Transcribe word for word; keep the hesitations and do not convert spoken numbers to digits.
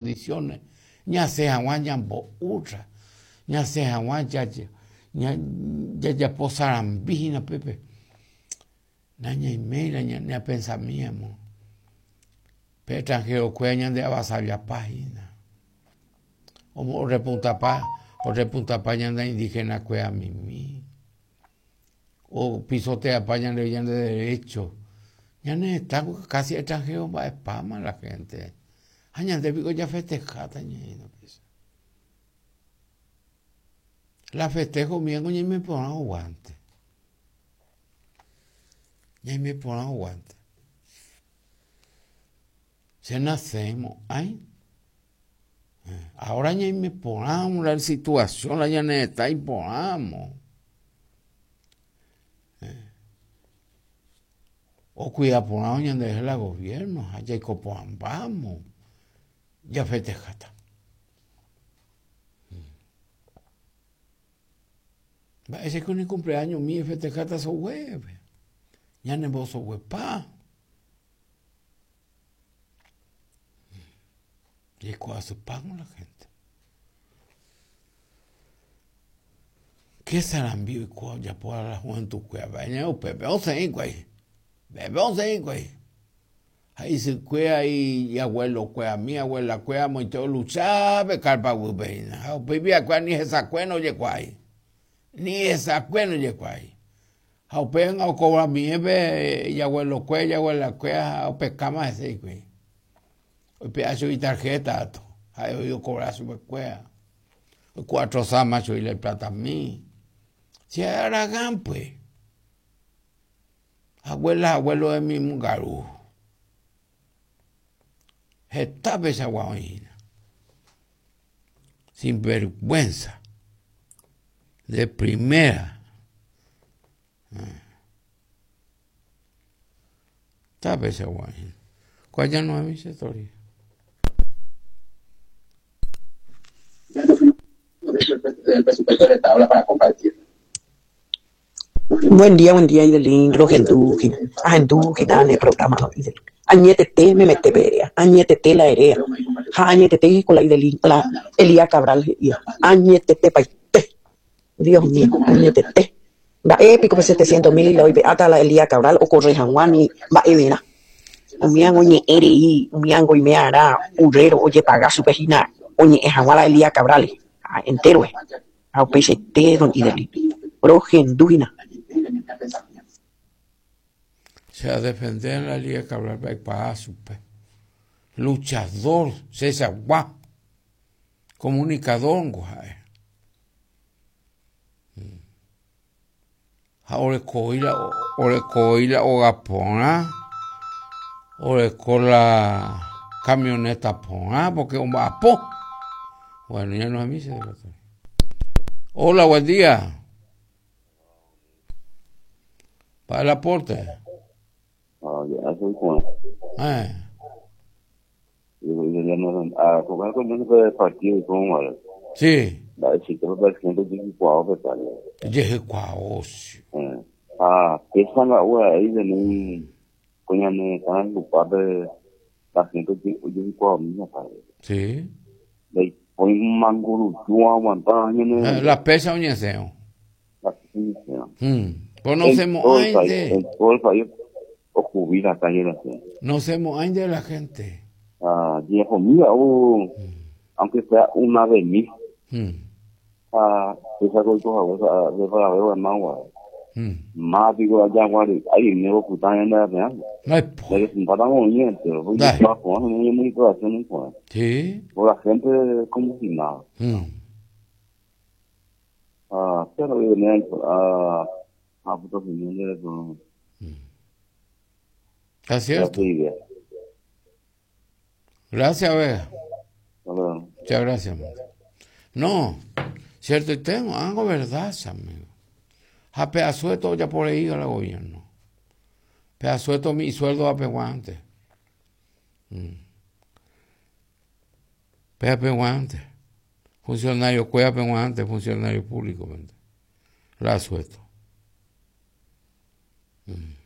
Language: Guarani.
Condiciones ñasẽ hag̃ua ñambo'útra, ñasẽ hag̃ua jajapo sarambi hína pépe. Nañaiméi ñapensamíamo pe extranjero-kuéra ñande avasallapa hína. Orepuntapa, orepuntapa ñande indígena-kuéra mimi. Opisoteapa ñande ñande derecho. Ñane retã casi extranjero mba'epáma la gente. Ha ñande piko jafestejáta ñaína péicha. La festejo umívango ñaime porã oguánte. Ñaime porã oguánte. Che nasẽmo'ãi. Ahora ñaime porãmo la situación la ñane retã iporãmo. Okuida porãvo ñanderehe la gobierno ha jaiko porãmbámo jafestejáta. Mba'éichako ne cumpleaños mi efestejáta soguépe. Ñanembosoguepa. Jaiko asypámo la gente. Qué sarambi oiko ojapo la juventud-kuéra mba'e upépe osẽ hikuái. Upépe osẽ hikuái. Ha isykuéra ijabuelokuérami abuelakuéra amoite olucha pe carpa guýpe hína. Ha upéi akuéra ni hesakue ndojekuaái. Ni hesakue ndojekuaái. Ha upéi okobramie ijabuelokuéra ijabuelakuéra ha opekáma hese hikuái. Oipe'a chugui tarjeta katu. Ha'e voi okobra chupekuéra. Oikuatrosáma chugui la iplatami. Si ha'e Aragán pues. Abuela, abuelo de mi mongaru. Heta peichagua oĩ hína. Sin vergüenza. De primera. Heta peichagua oĩ hína. Ko aja noemi che tori. Buen día, buen día, Idelín, rohendu hína, ahendu hína ne programa, Idelín. Añetete memete pe erea, añetete la erea. Ha añetete ko la Idelín, la Elías Cabral he'íva. Añetete paite. Dios mío, añetete. Mba'e piko pe setecientos mil la oipe'áta la Elías Cabral okorre hag̃ua ni mba'everã. Umíango ñe'ẽ rei, umíango oime'arã urréro ojepaga chupe hína oñe'ẽ hag̃ua la Elías Cabral. Ha enterove. Ha upeichaite don Idelín. Rohendu hína. Se a defender la Elías Cabral aikuaa chupe. Luchador, chechagua. Comunicador ngo ha'e. Ha orekói la orekói la óga porã, oreko la camioneta porã porque omba'apo. Bueno, ya no es misa. Hola, buen día. Para el aporte. Ah, ya, soy Juan. Eh. Yo, yo ya no, ah, con el comienzo del partido y con bueno. Sí. La chica fue presidente de Jejucuao, pues, vale. Jejucuao, sí. Eh. Ah, que esa la hora ahí de un coño no están ocupado la gente de Jejucuao misma, padre. Sí. Le ponen un mango aguantado, no. Eh, la pesa oñeseo. La pesa oñeseo. Hmm. Pues no se moainde. En todo el país, o jubila calle la gente. No se moainde la gente. Ah, viejo mío, oh, mm. aunque sea una de mil. Mm. Ah, esa cosa, de para ver, hermano, Mm. Más digo allá, guari, ay, me voy a ocultar en la real. Ay, De que se empatan con bien, pero voy a trabajar, no hay manipulación, no puedo. Sí. Por la gente como si nada. Mm. Ah, pero yo venía a a puto opinión de eso. Está cierto. Gracias, Vega. Bueno. Muchas gracias, man. No, cierto, y tengo algo verdad, amigo. A pedazueto ya por ahí al gobierno. Pedazueto mi sueldo a peguante. Mm. Pea peguante. Funcionario cueva peguante, funcionario público. La asueto. Mm.